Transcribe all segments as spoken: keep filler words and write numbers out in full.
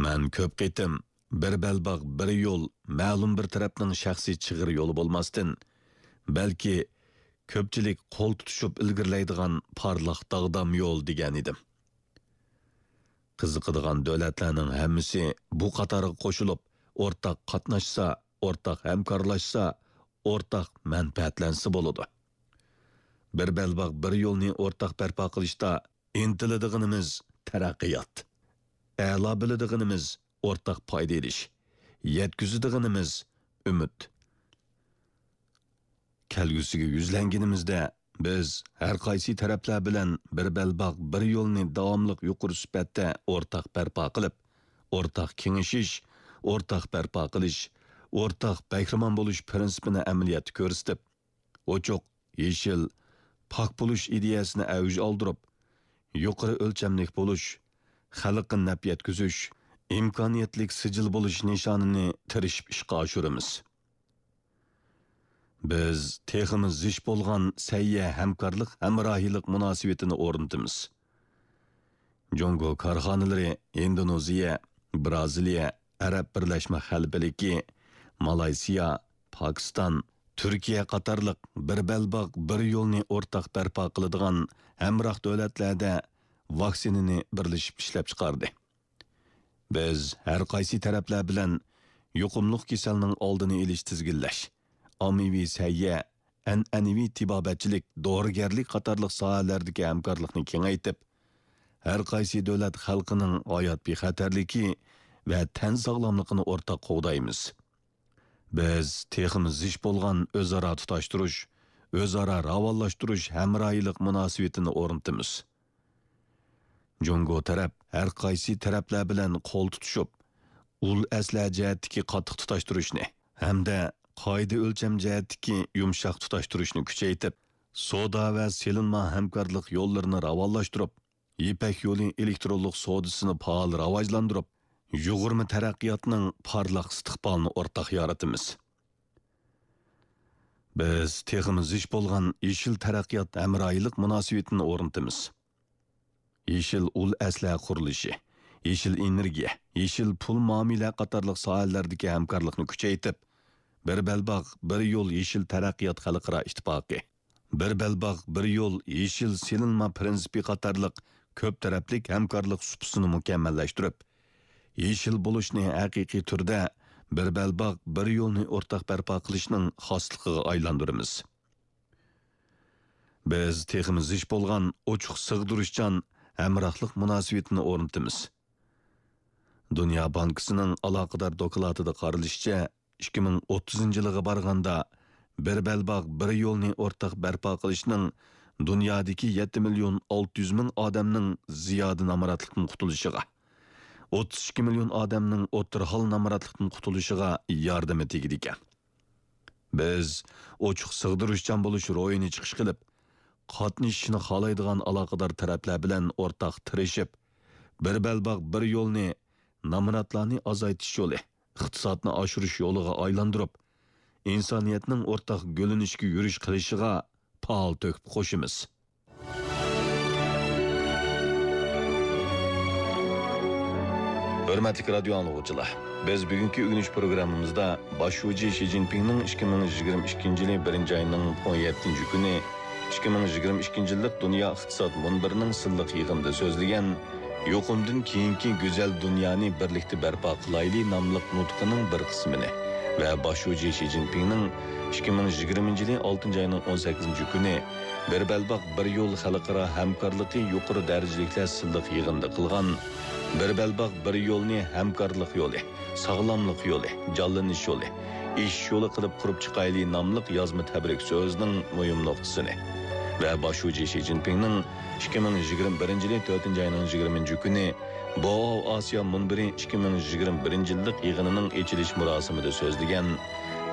مەن كۆپ قېتىم «بىر بەلباغ، بىر يول» مەلۇم بىر تەرەپنىڭ شەخسىي چىغىر يولى بولماستىن، بەلكى كۆپچىلىك قول تۇتۇشۇپ ئىلگىرىلەيدىغان پارلاق داغدام يول دېگەن ئىدىم. قىزىقىدىغان دۆلەتلەرنىڭ ھەممىسى بۇ قاتارغا قوشۇلۇپ، ئورتاق قاتناشسا، ئورتاق ھەمكارلاشسا، ئورتاق مەنپەئەتلەنسە بولىدۇ. بىر بەلباغ، بىر يولنى ئورتاق بەرپا قىلىشتا ئىنتىلىدىغىنىمىز تەرەققىيات، ئەلا بىلىدىغىنىمىز ئورتاق پايدا ئېلىش، يەتكۈزىدىغىنىمىز ئۈمىد. كەلگۈسىگە يۈزلەنگىنىمىزدە، بىز ھەر قايسى تەرەپلەر بىلەن بىر بەلباغ، بىر يولنى داۋاملىق يۇقىرى سۈپەتتە ئورتاق بەرپا قىلىپ، ئورتاق كېڭىشىش، ئورتاق بەرپا قىلىش، ئورتاق بەھرىمەن بولۇش پىرىنسىپىنى ئەمەلىيەتتە كۆرسىتىپ، ئوچۇق، يېشىل، پاك بولۇش ئىدىيەسىنى ئەۋج ئالدۇرۇپ، يۇقىرى ئۆلچەملىك بولۇش، خەلققە نەپ يەتكۈزۈش، ئىمكانىيەتلىك سىجىل بولۇش نىشانىنى تىرىشىپ ئىشقا ئاشۇرىمىز. بىز تېخىمۇ زىچ بولغان سەھىيە ھەمكارلىق، ھەمراھىيلىق مۇناسىۋىتىنى ئورنىتىمىز. جۇڭگو كارخانىلىرى ئىندونېزىيە، بىرازىلىيە، ئەرەب بىرلەشمە خەلىپىلىكى، مالايسىيا، پاكىستان، تۈركىيە قاتارلىق بىر بەلباغ، بىر يولنى ئورتاق بەرپا قىلىدىغان ھەمراھ دۆلەتلەردە ۋاكسىنىنى بىرلىشىپ ئىشلەپچىقاردى. بىز ھەر قايسى تەرەپلەر بىلەن يۇقۇملۇق كېسەلنىڭ ئالدىنى ئېلىش، تىزگىنلەش، ئاممىۋى سەھىيە، ئەنئەنىۋى تېبابەتچىلىك، دورىگەرلىك قاتارلىق ساھەلەردىكى ھەمكارلىقنى كېڭەيتىپ، ھەر قايسى دۆلەت خەلقىنىڭ ھايات بىخەتەرلىكى ۋە تەن ساغلاملىقىنى ئورتاق قوغدايمىز. بىز تېخىمۇ زىچ بولغان ئۆزئارا تۇتاشتۇرۇش، ئۆزئارا راۋانلاشتۇرۇش ھەمراھىيلىق مۇناسىۋىتىنى ئورنىتىمىز. جۇڭگو تەرەپ ھەر قايسى تەرەپلەر بىلەن قول تۇتۇشۇپ، ئۇل ئەسلىھە جەھەتتىكى قاتتىق تۇتاشتۇرۇشنى ھەمدە قائىدە ئۆلچەم جەھەتتىكى يۇمشاق تۇتاشتۇرۇشنى كۈچەيتىپ، سودا ۋە سېلىنما ھەمكارلىق يوللىرىنى راۋانلاشتۇرۇپ، يىپەك يولى ئېلېكترونلۇق سودىسىنى پائال راۋاجلاندۇرۇپ، يۇغۇرما تەرەققىياتنىڭ پارلاق ئىستىقبالىنى ئورتاق يارىتىمىز. بىز تېخىمۇ زىچ بولغان يېشىل تەرەققىيات ھەمراھىيلىق مۇناسىۋىتىنى ئورنىتىمىز. يېشىل ئۇل ئەسلىھە قۇرۇلۇشى، يېشىل ئېنېرگىيە، يېشىل پۇل مۇئامىلە قاتارلىق ساھەلەردىكى ھەمكارلىقنى كۈچەيتىپ، بىر بەلباغ، بىر يول يېشىل تەرەققىيات خەلقئارا ئىتتىپاقى، بىر بەلباغ، بىر يول يېشىل سېلىنما پىرىنسىپى قاتارلىق كۆپ تەرەپلىك ھەمكارلىق سۇپىسىنى مۇكەممەللەشتۈرۈپ، يېشىل بولۇشنى ھەقىقىي تۈردە بىر بەلباغ، بىر يولنى ئورتاق بەرپا قىلىشنىڭ خاسلىقىغا ئايلاندۇرىمىز. بىز تېخىمۇ زىچ بولغان ئوچۇق، سىغدۇرۇشچان ھەمراھلىق مۇناسىۋىتىنى ئورنىتىمىز. دۇنيا بانكىسىنىڭ ئالاقىدار دوكلاتىدا قارىلىشىچە، ئىككى مىڭ ئوتتۇزىنچى يىلغا بارغاندا، بىر بەلباغ، بىر يولنى ئورتاق بەرپا قىلىشنىڭ دۇنيادىكى يەتتە مىليون ئالتە يۈز مىڭ ئادەمنىڭ زىيادە نامراتلىقتىن قۇتۇلۇشىغا، ئوتتۇز ئىككى مىليون ئادەمنىڭ ئوتتۇرا ھال نامراتلىقتىن قۇتۇلۇشىغا ياردىمى تېگىدىكەن. بىز ئوچۇق، سىغدۇرۇشچان بولۇش روھىنى چىقىش قىلىپ، قاتنىشىشنى خالايدىغان ئالاقىدار تەرەپلەر بىلەن ئورتاق تىرىشىپ، بىر بەلباغ، بىر يولنى نامراتلارنى ئازايتىش يولى، ئىقتىسادنى ئاشۇرۇش يولىغا ئايلاندۇرۇپ، ئىنسانىيەتنىڭ ئورتاق گۈللىنىشكە يۈرۈش قىلىشىغا پائال تۆھپە قوشىمىز. ھۆرمەتلىك رادىيو ئاڭلىغۇچىلار، بىز بۈگۈنكى ئۆگىنىش پروگراممىمىزدا باش شۇجى شى جىنپىڭنىڭ ئىككى مىڭ يىگىرمە ئىككىنچى يىلى بىرىنچى ئاينىڭ ئون يەتتىنچى كۈنى ئىككى مىڭ يىگىرمە ئىككىنچى يىللىق دۇنيا ئىقتىساد مۇنبىرىنىڭ سىنلىق يىغىنىدا سۆزلىگەن يۇقۇمدىن كېيىنكى گۈزەل دۇنيانى بىرلىكتە بەرپا قىلايلى ناملىق نۇتقىنىڭ بىر قىسمىنى ۋە باش شۇجى شى جىنپىڭنىڭ ئىككى مىڭ يىگىرمىنچى يىلى ئالتىنچى ئاينىڭ ئون سەككىزىنچى كۈنى بىر بەلباغ، بىر يول خەلقئارا ھەمكارلىقى يۇقىرى دەرىجىلىكلەر سىنلىق يىغىنىدا قىلغان بىر بەلباغ، بىر يولنى ھەمكارلىق يولى، ساغلاملىق يولى، جانلىنىش يولى، ئېشىش يولى قىلىپ قۇرۇپ چىقايلى ناملىق يازما تەبرىك سۆزىنىڭ مۇھىم نۇقتىسىنى ۋە باش شۇجى شى جىنپىڭنىڭ ئىككى مىڭ يىگىرمە بىرىنچى يىلى تۆتىنچى ئاينىڭ يىگىرمىنچى كۈنى بوئاۋ ئاسىيا مۇنبىرى ئىككى مىڭ يىگىرمە بىرىنچى يىللىق يىغىنىنىڭ ئېچىلىش مۇراسىمىدا سۆزلىگەن،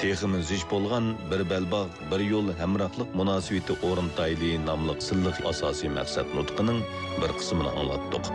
تېخىمۇ زىچ بولغان بىر بەلباغ، بىر يول ھەمراھلىق مۇناسىۋىتى ئورنىتايلى ناملىق سىنلىق ئاساسىي مەقسەت نۇتقىنىڭ بىر قىسمىنى ئاڭلاتتۇق.